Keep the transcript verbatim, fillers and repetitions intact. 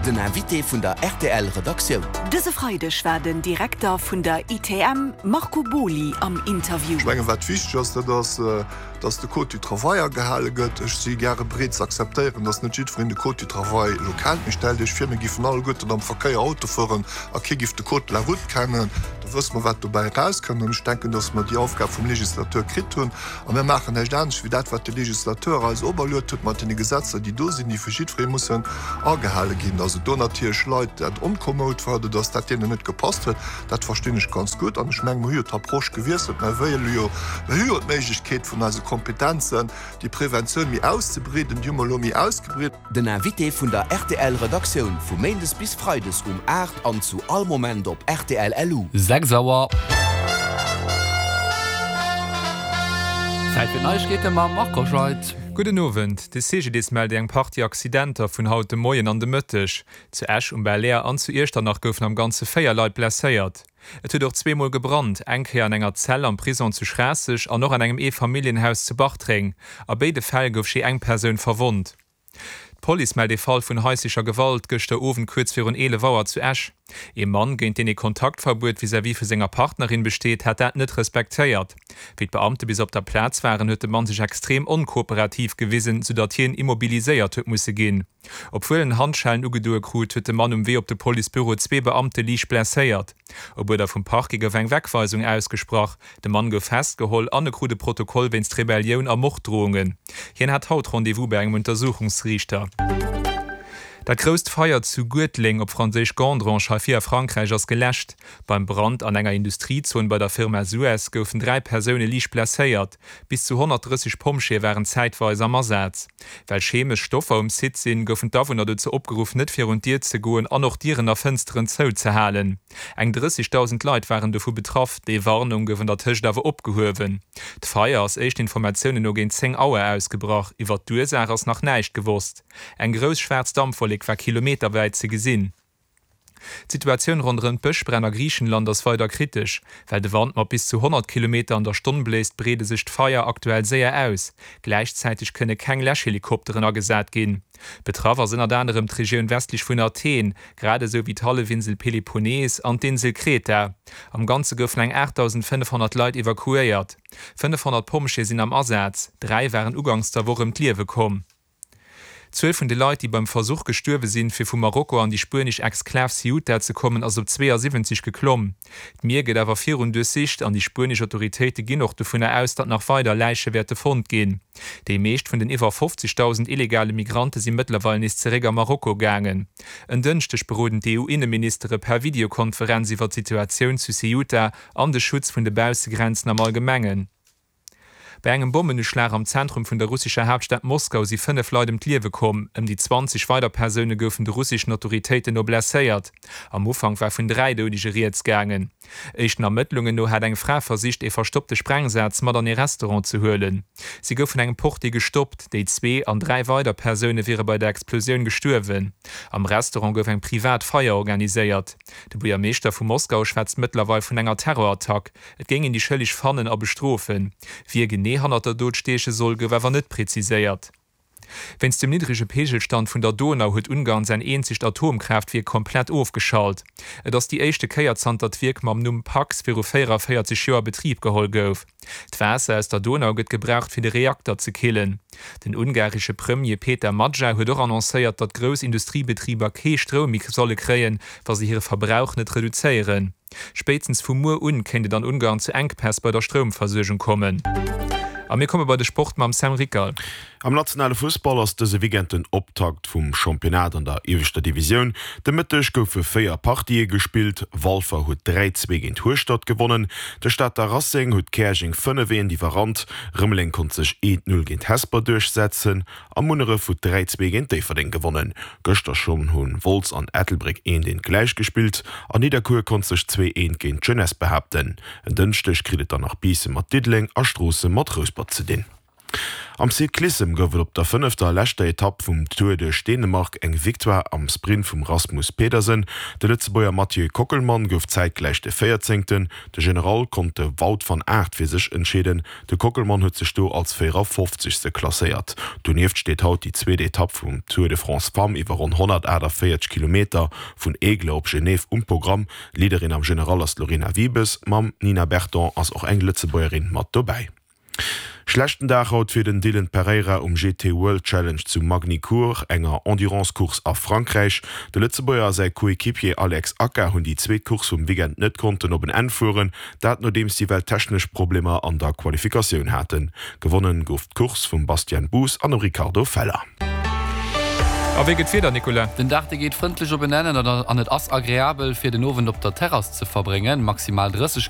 Den Invité vun der R T L Redaktioun. Dëse Freideg war den Direkter vun der I T M Marco Boly am Interview. Ech mengen, wat wichteg ass, dat ass, dass de Code du Travail agehale gëtt. Ech si gäre bereet ze akzeptéieren, dass net jiddwereen de Code du Travail elo kennt. Mee stellt Iech vir, mir géifen alleguerten am Verkéier Auto fueren a kee géif de Code de la route kennen, da wësse mer, wat dobäi erauskënnt. An ech denken, dass mer déi Aufgab vum Legislateur kritt hunn a mir maachen näischt anescht wéi dat, wat de Legislateur eis operluecht huet mat deene Gesetzer, déi do sinn, déi vu jiddweree mussen agehale ginn. Dass et do natierlech Leit dat onkommod war oder dass dat deenen net gepasst huet, dat verstinn ech ganz gutt. An ech mengen, mer hu jo d'Approche gewiesselt, mer wëlle jo, mer hu jo d'Méiglechkeet vun eise Kompetenzen, déi Preventioun méi auszebreeden, déi hu mer elo méi ausgebreet. Den Invité vun der R T L Redaktioun vu Méindes bis Freides um aacht an zu all Moment op R T L L U. Sechs Auer. Zäit fir d'Neiegkeete mam Marco Scheidt. Gudden Owend. De C G D I S mellt eng Partie Accidenter vun haut de Moien an de Mëtteg. Zu Esch um Belair an zu Iechternach goufen am Ganze véier Leit blesséiert. Et huet och zweemol gebrannt, eng Kéier an enger Zell am Prisong zu Schraasseg an och an engem Eefamilljenhaus zu Bartreng. A béide Fäll gouf jee eng Persoun verwonnt. D'Police mellt e Fall vun haislecher Gewalt gëschter Owend kuerz virun eelef Auer zu Esch. E Mann, géint deen e Kontaktverbuet vis-à-vis vu senger Partnerin besteet, hat dat net respektéiert. Wéi d'Beamte bis op der Plaz waren, huet de Mann sech extrem onkooperativ gewisen, soudatt hien immobiliséiert huet musse ginn. Obwuel en Handschellen ugedoe krut, huet de Mann um Wee op de Policebüro zwee Beamte liicht blesséiert. Op Uerder vum Parquet gouf eng Wegweisung ausgesprach. De Mann gouf festgeholl an e krut e Protokoll wéinst Rebellioun a Morddroungen. Hien hat haut Rendez-vous bei engem Untersuchungsriichter. Dat grousst Feier zu Guertleng, op Franséisch Gandrange, hei vir a Frankräich ass geläscht. Beim Brand an enger Industriezon bei der Firma Suez goufen dräi Persoune liicht blesséiert. Bis zu honnertdrësseg Pompjeeë waren zäitweis am Asaz. Well chemesch Stoffer um Site sinn, goufen d'Awunner dozou opgeruff, net virun d'Dier ze goen an och Dieren a Fënsteren zouzehalen. Eng drëssegdausend Leit waren dovu betraff. Déi Warnung gouf an der Tëscht awer opgehuewen. D'Feier ass éischten Informatiounen no géint zéng Auer ausgebrach. Iwwer d'Ursaach ass nach näischt gewosst. Eng grouss schwaarz Dampwollek war kilometerwäit ze gesinn. D'Situatioun ronderëm d'Bëschbränn a Griichenland ass weider kritesch. Well de Wand mat bis zu honnert Kilometer an der Stonn bléist, breede sech d'Feier aktuell séier aus. Gläichzäiteg kënne keng Läschhelikopteren agesat ginn. Betraff ass ënnert anerem d'Regioun westlech vun Athen, grad esou wéi d'Hallefinsel Peloponnes an d'Insel Kreta. Am Ganze goufen eng aachtdausendfënnefhonnert Leit evakuéiert. Fënnefhonnert Pompjeeë sinn am Asaz, dräi waren uganks der Woch ëm d'Liewe komm. D'Zuel vun de Leit, déi beim Versuch gestuerwe sinn, fir vu Marokko an déi spuenesch Exklav Ceuta ze kommen, ass op zweeasiwwenzeg geklomm. D'Mier gëtt awer virun duerchsicht an déi spuenesch Autoritéite ginn och dovunner aus, datt nach weider Läiche wäerte fonnt ginn. Déi meescht vun den iwwer fofzegdausend illegale Migrante si mëttlerweil nees zeréck a Marokko gaangen. En Dënschdeg beroden d'E U-Inneministere per Videokonferenz iwwer d'Situatioun zu Ceuta an de Schutz vun de Baussegrenzen am Allgemengen. Bei engem Bommenuschlag am Zentrum vun der russescher Haaptstad Moskau si fënnef Leit ëm d'Liewe komm, ëm déi zwanzeg weider Persoune goufen de russeschen Autoritéiten no blesséiert. Am Ufank war vun dräi Doudege rieds gaangen. Éischten Ermëttlungen no hat eng Fra versicht, ee verstoppte Sprengsaz mat an ee Restaurant ze huelen. Si gouf vun engem Portier gestoppt. Déi zwee an dräi weider Persoune wiere bei der Explosioun gestuerwen. Am Restaurant gouf eng privat Feier organiséiert. De Buergermeeschter vu Moskau schwätzt mëttlerweil vun enger Terrorattack. Et géing een déi Schëlleg fannen a bestrofen. Wie genee hannert der Dot stieche soll, gouf awer net präziséiert. Wéinst dem niddrege Peegelstand vun der Donau huet Ungarn säin eenzegt Atomkraaftwierk komplett ofgeschalt. Et ass déi éischte Kéier zanter d'Wierk mam Numm Paks viru véieranvéierzeg Joer a Betrib geholl gouf. D'Waasser aus der Donau gëtt gebraucht fir de Reakter ze killen. Den ungaresche Premier Péter Magyar huet och annoncéiert, datt grouss Industriebetriber kee Stroum méi solle kréien, wa se hire Verbrauch net reduzéieren. Spéitstens vu muer un kéint et an Ungarn zu Enkpäss bei der Stroumversuergung kommen. A mir komme bei de Sport mam Sam Rickal. Am nationale Fussball ass dëse Weekend den Optakt vum Championnat an der ieweschter Divisioun. De Mëtteg goufe véier Partië gespillt. Walfer huet dräi zwee géint Hueschtert gewonnen. De Stater Racing huet Käerjeng fënnef eent iwwerrannt. Rëmeleng konnt sech eent null géint Hesper duerchsetzen a Munneref huet dräi zwee géint Déifferdeng gewonnen. Gëschter schonn hu Wolz an Ettelbréck eent eent gläich gespillt an Nidderkuer konnt sech zwee eent géint d'Jeunesse behaapten. En Dënschdeg kritt et dann nach Biissen mat Diddeleng a Stroossen mat Rouspert ze dinn. Am Cyclissem gouf et op der fënnefter a leschter Etapp vum Tour duerch Dänemark eng Victoire am Sprint vum Rasmus Pedersen. De Lëtzebuerger Mathieu Kockelmann gouf zäitgläich de Véierzéngten. De General konnt de Wout van Aert fir sech entscheeden. De Kockelmann huet sech do als véierafofzegste klasséiert. Donieft steet haut déi zweet Etapp vum Tour de France Femmes iwwer ronn honnertaachtavéierzeg Kilometer vun Aigle op Genève um Programm. Leaderin am General ass d'Lorena Wiebes. Mam Nina Berton ass och eng Lëtzebuergerin mat dobäi. Schlechten Dag haut fir den Dylan Pereira um G T World Challenge zu Magny-Cours, enger Endurance-Course a Frankräich. De Lëtzebuerger a säi Coequipier Alex Aka hunn déi zweet Course vum Weekend net konnten op en Enn fueren, dat nodeems si well technesch Problemer an der Qualifikatioun haten. Gewonnen gouf d'Course vum Bastian Buus an dem Ricardo Feller. A wéi gëtt d'Wieder, Nicolas? Den Dag dee geet frëndlech op en Enn an et ass agreabel fir den Owend op der Terrass ze verbréngen. Maximal dreißeg.